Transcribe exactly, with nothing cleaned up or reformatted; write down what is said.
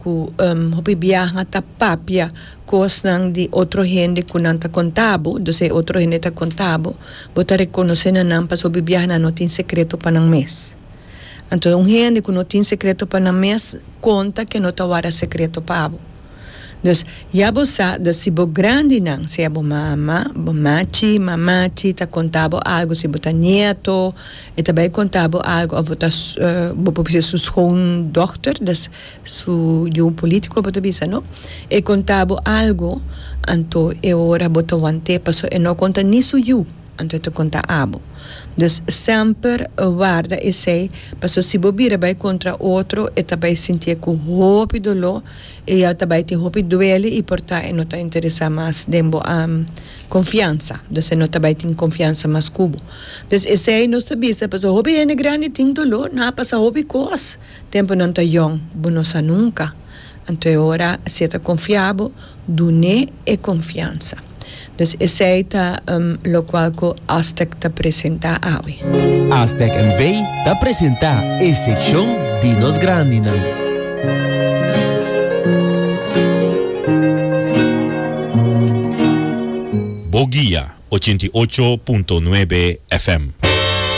Ku um, hopi biaha ta papia kosnan di otro hende ku nan ta konta bo, dus e otro hende ta konta bo, bo ta rekonosé na nan pasobra hopi biaha nan no tin sekreto pa nan mes. Anto un hende ku no tin sekreto pa nan mes, konta ku no ta warda sekreto pa bo. Dus ya bo sa, dus si bo grandinan, sea bo mama, bo machi, mamachi ta konta bo algu, si bo ta nieto, e ta bai konta bo algu, òf bo ta uh, bo por bisa su schoondochter, dus su yu polítiko bo ta bisa, no? E konta bo algu, anto e ora bo ta want'é, paso e no konta ni su yu, anto e ta konta abo. Dus semper warda esei, paso si bo bira bai kontra otro, e ta bai sinti ku hopi doló, i e ta bai tin hopi duele i por ta e no ta interesá mas den bo um, konfiansa. Dus e no ta bai tin konfiansa mas ku bo. Dus esei nos ta bisa, paso hopi hende grandi tin doló, nan a pasa hopi kos. Tempu nan ta yong, bo no sa nunka. Anto e ora si e ta konfia bo, dun'é e konfiansa. Dus esei ta um, lokual ku Astec ta presentá awe. Astec N V ta presentá e sekshon di nos grandinan. Bo Guia ochenta i ocho punto nuebe F M.